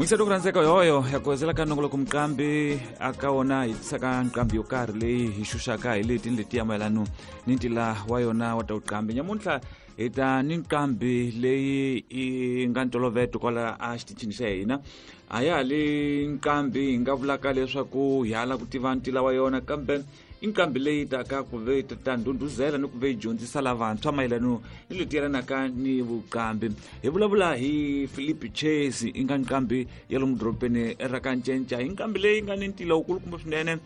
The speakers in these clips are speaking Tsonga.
Muyingiseri ku rhandzeka yoyo ya ku hezela ka nongoloko muqambi aka wona hi tisaka nqambi yo karhi leyi hi xuxaka hi leti ni letiya mayelano ni ntila wa yona wa ta vuqambi. Nyamuntlha hi ta ni nqambi leyi yi nga ntoloveto kwala a xitichini xa hina. A ya ha li nqambi hi nga vulaka leswaku hi hala ku tiva ntila wa yona, kambe i nqambi leyi taka ku ve ta ndhundhuzela ni ku ve yi dyondzisa lavantshwa mayelano ni leti yelanaka ni vuqambi. Hi vulavula hi Philip Chase, i nga nqambi ya lomu dorobeni ra ka Ncenca. Hi nqambi leyi nga ni ntila wukulukumba swinene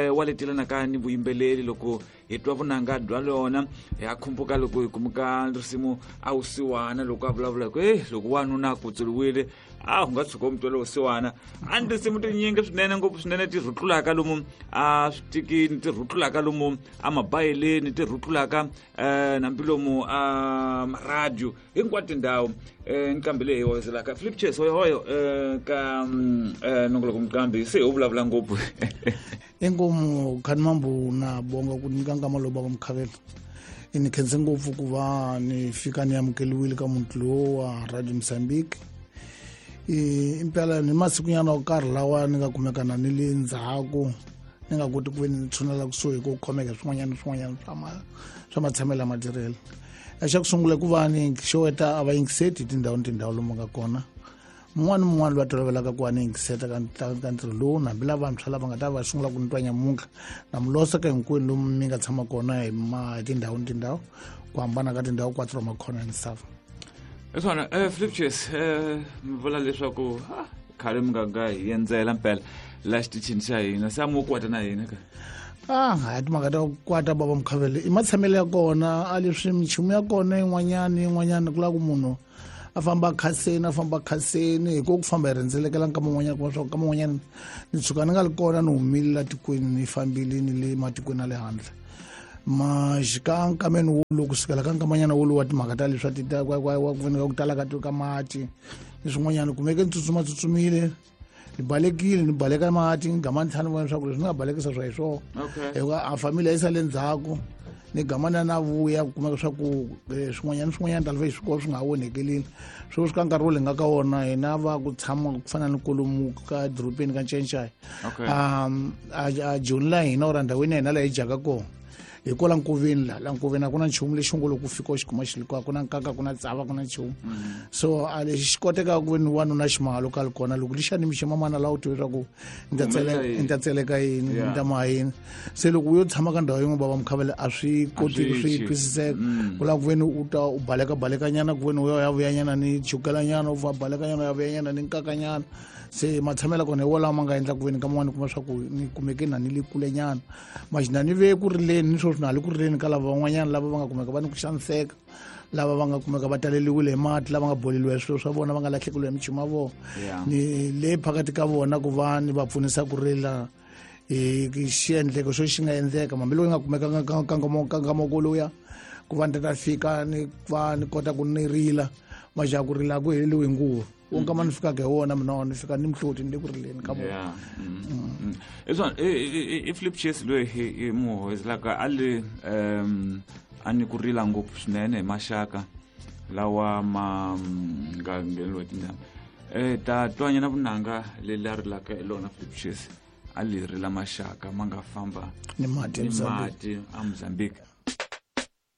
wa leti yelanaka ni vuyimbeleri. Loko hi twa vunanga bya lona ha khumbuka loko hi kumuka risimu a wusiwana, loko a vulavula hi ku e loko wanuna a kutsuriwile a u nga tshuka u mutwela wusiwana. A ni tinsimu tinyingi swinene ngopfu swinene ti rhutlulaka lomu a switikini, ti rhutlulaka lomu a mabayeleni, ti rhutlulaka nambi lomu a maradio, hinkwato tindhawu. Nqambi leyi hoyozelaka Philip Chase hoyohoyo ka nongoloko muqambi se u vulavula ngopfu. Inkomu khani mambu na bonga ku nyika nkama lowu bava mukhavela. Ni khense ngopfu ku va ni fika ni amukeliwile ka muti lowu wa Radio Mozambique. Impela ni masikunyana wo karhi lawa ni nga kumeka na ni le ndzhaku, ni nga koti ku ve ni tshunela kusuhi ku khomeka swin'wanyana swin'wanyana swa matshamelo ya matirhelo. Xa ku sungula ku va ni xeweta a va yingiseti tindhawu ni tindhawu lomu nga kona. Mun'wana ni mun'wana loyi a tolovelaka ku va ni yingiseta ka ntirho lowu, hambi lavantshwa lava nga ta va sungula ku ni twa nyamuntlha, na mi losa ka hinkwenu lomu mi nga tshama kona hi tindhawu ni tindhawu, ku hambana ka tindhawu quatro makhona ya misava. Hi swona, Philip Chase, mi vula leswaku khale mi nga nga hi endzela mpela la xitichini xa hina, se a mi wo kwata na hina ka? A hayi, timhaka ta ku kwata bava mukhavele i matshamelo ya kona, a leswi minchumu ya kona yin'wanyana yin'wanyana ku lava ku munhu a famba khaseni, a famba khaseni hi ku famba hi rhendzelekela nkama wun'wanyana, kuma swa ku nkama wun'wanyana ni tshuka ni nga li kona, ni humile la tikweni, ni fambile ni le matikweni ya le handle. Maxika nkameni wolowo kusukela ka nkamanyana wolowo wa timhaka ta leswi wa ku voneka ku tala ka mati ni swin'wanyana, kumeke ni tsutsuma tsutsumile, ni balekile, ni baleka mati, ni gama ni tlhela ni vona leswaku leswi ni nga balekisa swa hi swona, hikuva a family yi sale ndzhaku. Ni gama na na vuya ku kumeka swa ku swin'wanyana swin'wanyana ta lva swikolo swi nga ha onhekelile. Sweswi ka nkarhi wo le nga ka wona hina va ku tshama ku fana ni kolomu ka dorobeni ka Ncencai, a joni la hina or ndhawini ya hina laha hi dyaka kona hi kwala nkoveni, la nkoveni a ku na nchumu lexi ngo loko u fika u xi kuma xi ri kona, ku na nkaka, ku na tsava, ku na nchumu. So a lexi xi kotekaka ku ve ni wanuna ximahalo ka li kona loko lixa ni mixi mamana laha u tive leswaku ni ta ni ta tseleka yini, ni ta maha yini. Se loko u yo tshama ka ndhawu yin'we bava mukhavele, a swi koteki swi twisiseka. Ku lava ku ve ni u ta u baleka balekanyana, ku ve ni u ya vuyanyana ni chukelanyana, u va balekanyana u ya vuyanyana ni nkakanyana. Se matshamelo kona hi wolawo ma nga endla ku ve ni ka man'wani kuma swa ku ni kumeke na ni le kulenyana maxina, ni ve ku rileni ni sweswi na ha le ku rileni ka lava van'wanyana lava va nga kumeka va ni ku xaniseka, lava va nga kumeka va taleliwile hi mati, lava nga boleliwa hi swilo swa vona, va nga lahlekeliwa hi michumu ya vona. Ni le phakati ka vona ku va ni va pfunisa ku rila hi xiendleko xo xi nga endleka, hambi loko yi nga kumeka nkangamoko lowuya ku va ni ta fika ni va ni kota ku ni rila majaha ku rila ku heleliwe hi nguva wo nkama ni fikaka hi wona mina ni fika ni mihloti ni le ku rileni ka vona. Hi swona, i Philip Chase loyi hi mu hoyiselaka a le a ni ku rila ngopfu swinene hi maxaka lawa ma nga ngheneliwa hi tindhawu. Ta twanyana vunanga leri a rilaka hi lona Philip Chase, a li rila maxaka ma nga famba ni mati ni mati a Mozambique.